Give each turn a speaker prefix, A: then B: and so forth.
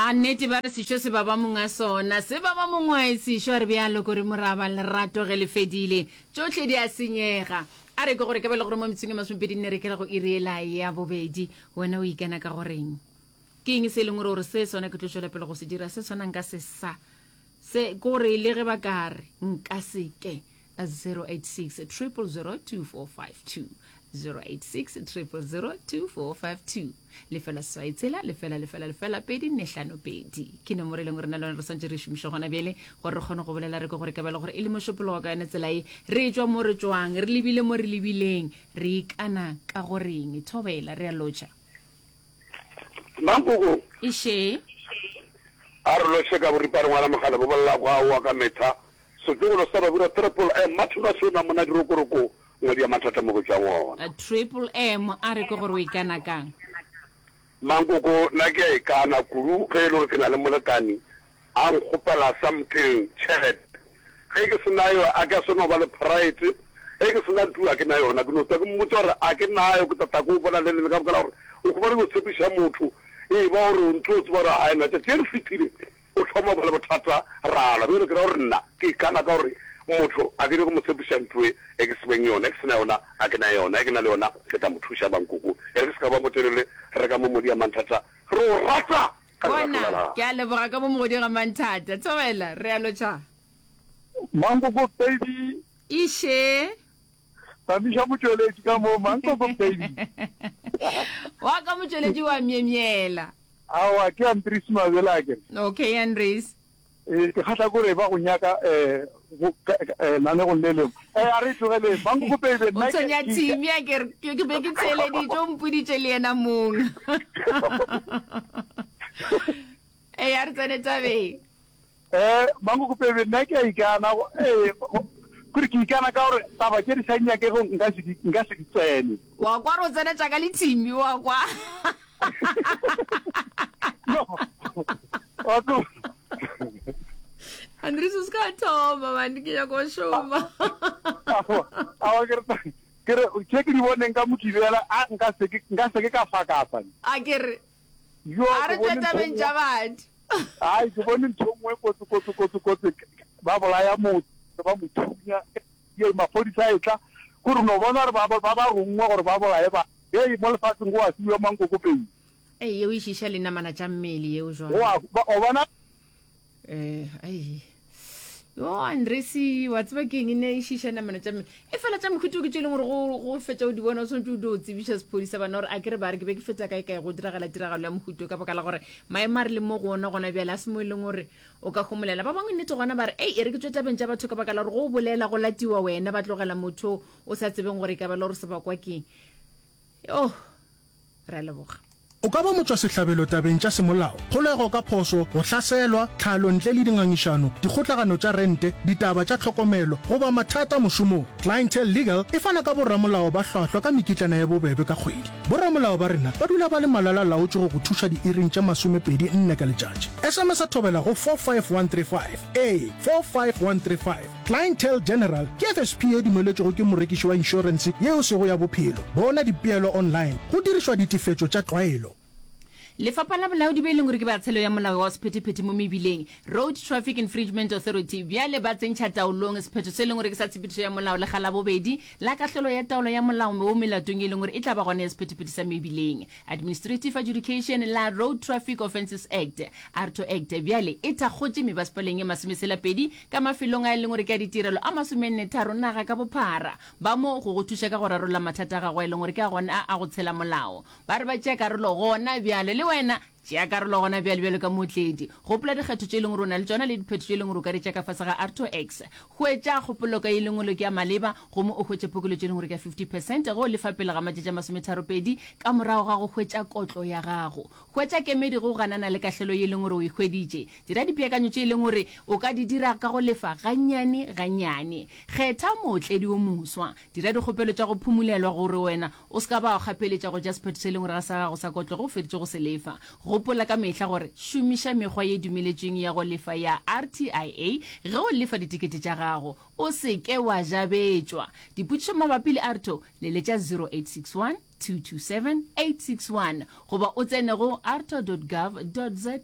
A: A nnete ba re sešo se baba monga sona, se baba mongwae sešo a re bjalo kore moraba lerato ge le fedile tšohle di a senyega. A re ke gore ka be le gore mo metsong e masomepedi nne re kela go iri ela ya bobedi wena o ikana ka goreng? Ke eng se e leng gore gore se sona ke tlo tšwela pele go se dira se sona nka se sa se kore le ge ba ka re nka se ke 086 000 2452 086 000 2452 lefela seswai tshela lefela lefela lefela pedi nne hlano pedi ke nomoro e leng gore na le yone re swantse re šomiše gona bjale gore re kgone go bolela re ke gore ka bjale gore e le mošupologo ka yone tsela e re tšwa mo re tšwang re lebile mo re lebileng re ikana ka goreng thobela re a lotšha
B: Mankoko.
A: Eše.
B: A re lotšhe ka boripane ngwana mogale bo bolela go aowa ka metha Setlogolo sa Babura Triple M Martin wa Sona monna dirokoroko ngwedi ya mathata mo go tšwang ona.
A: Triple M a re ke gore o ikana kang?
B: Mankoko nna ke a ikana kudu ge e le gore ke na le molekani a nkgopela something tšhelete ge ke se nayo a ke a swanela go ba le pride ge ke se na ntu a ke na yona ke no tla ke mmotsa gore a ke nayo ke tla tla ke o bona le leng ka baka la gore o khumana o tshepiša motho e ba gore o ntse o tseba gore a ena tšatši le fetile O thoma go ba le bothata, ra lwa. Bjale ke ra gore nna ke ikana ka gore motho a ke nyake go mo tshepiša ntho e e ke se beng yona. E ke se na yona, a ke na yona. E ke na le yona, ke tla mo thuša. Mankoko, e re ke se ka ba motelele, re ka mo Modia Manthata. Re o rata ka lerato la
A: Bona,
B: lapa.
A: ke a leboga ka mo Mogodia ga Manthata. Thobela, re a lotšha.
C: Mankoko baby.
A: Iše.
C: Tamiša motšweletši ka mo, Mankoko baby.
A: Wa ka motšweletši wa myemyela.
C: Aowa, ke Andries Mabele akere.
A: Okay, Andries.
C: Ee, ke kgahla kore ba go nyaka eh, go, ka, eh, lanegong le lengwe. Eh, a re e tlogeleng. Mankoko baby,
A: O
C: nna ke,
A: tshwenya
C: ke,
A: thimi akere, ke, ke be ke theeleditše, o mpoditše le yena mong. Ee, a re tsene tabeng.
C: Eh, Mankoko baby, nna ke a ikana, go, ee, go, kore ke ikana ka gore taba tše di sa nyakego nka se di, nka se di tsene.
A: Wa kwa re o tsena tša ka le thimi, wa kwa.
C: No. Wa tlo.
A: Andries o se ka thoma man, ke nyaka go šoma.
C: Aowa, ke re, ke re, tše ke di boneng ka Mokibela, a nka se ke, nka se ke ka fakasa.
A: A ke re,
C: Yo,
A: a
C: ke
A: re tšwe
C: bone ntho
A: tabeng
C: nngwe.
A: tša batho.
C: Ai, ke bone ntho nngwe kotsi, kotsi, kotsi, kotsi. Ba bolaya motho, ba mo thunya. Ye, maphodisa a etla, kore o no bona gore ba, ba, ba rongwa gore ba bolaye ba. Hei, mo lefaseng go a fiwa mankokopedi.
A: Ei, yeo e šiša linamana tša mmele yeo jwale.
C: Go a, ba, o bona?
A: Eh, ai. Yo, Andresi, wa tseba ke eng ne e šiša namana tša mmele. E fela tša mohuta ke tše e leng gore go, go fetša o di bona o swanetše o dio tsebiša sephodisa bana gore a ke re ba re ke be ke feta kae kae go diragala tiragalo ya mohuta ka baka la gore maemo a re leng mo go ona gona bjale a se mo e leng gore o ka homolela. Ba bangwe nnete gona ba re, ei, e re ke tšwe tabeng tša batho ka baka la gore go o bolela go latiwa wena ba tlogela motho o sa tsebeng gore e ka ba le gore sebakwa keng. Oh, re a leboga.
D: O ka ba motšwasehlabelo tabeng tša semolao, kgolego ka phošo, go hlaselwa, tlhalo ntle le dingangišano, dikgotlagano tša rente, ditaba tša tlhokomelo, goba mathata mošomong. Clientele Legal e fana ka boramolao ba hlwahlwa ka mekitlana ya bobebe ka kgwedi. Boramolao ba rena ba dula ba le malala-laotšwe go go thuša diiring tše masomepedi nne ka letšatši. SMS-a thobela go 45135. Ee, 45135. Clientele General ke FSP ye dumeletšwego ke morekiši wa inšorense ye e sego ya bophelo. Bona dipeelo online go dirišwa ditefetšo tša tlwaelo.
A: Lefapha la Bolaodi be e leng gore ke ba Tshelo ya Molao wa Sephethephethe mo Mebileng, Road Traffic Infringement Authority, bjale ba tsentšha taolong sephetho se e leng gore ke sa tshepedišo ya molao lekga la bobedi la kahlolo ya taolo ya molao mo melatong e leng gore e tla ba gona ya sephethephethe sa mebileng. Administrative Adjudication la Road Traffic Offences Act, ARTO Act, bjale e thakgotše mebasepaleng ye masomeselapedi ka mafelong a e leng gore ke a ditirelo a masomennetharo naga ka bophara. Ba mo go go thuša ka go rarolla mathata a gago a e leng gore ke a gona a go tshela molao. Ba re ba tšea karolo gona bjale. Le wena tšea karolo gona bjale bjalo ka mootledi. Gopola dikgetho tše e leng gore o na le tšona le diphetho tše e leng gore o ka di tšea ka fase ga ARTO X. Hwetša kgopolo ka e leng gore ke ya maleba gomme o hwetše phokoletšo e leng gore ke ya 50 percent ge o lefa pele ga matšatši a masometharopedi ka morago ga go hwetša kotlo ya gago. Hwetša kemedi ge o ganana le kahlelo ye e leng gore o e hweditše. Dira dipeakanyo tše e leng gore o ka di dira ka go lefa gannyane gannyane. Kgetha mootledi o moswa. Dira dikgopelo tša go phumulelwa gore wena o se ka ba wa kgapeletša go tšea sephetho se e leng gore ga sa gago sa kotlo ge o feditše go se lefa. Gopola ka mehla gore šomiša mekgwa ye dumeletšweng ya go lefa ya RTIA ge o lefa ditekete tša gago. O se ke wa jabetšwa. Dipotšišo mabapi le AARTO, leletša 0861 227 861 goba o tsene go aarto.gov.za.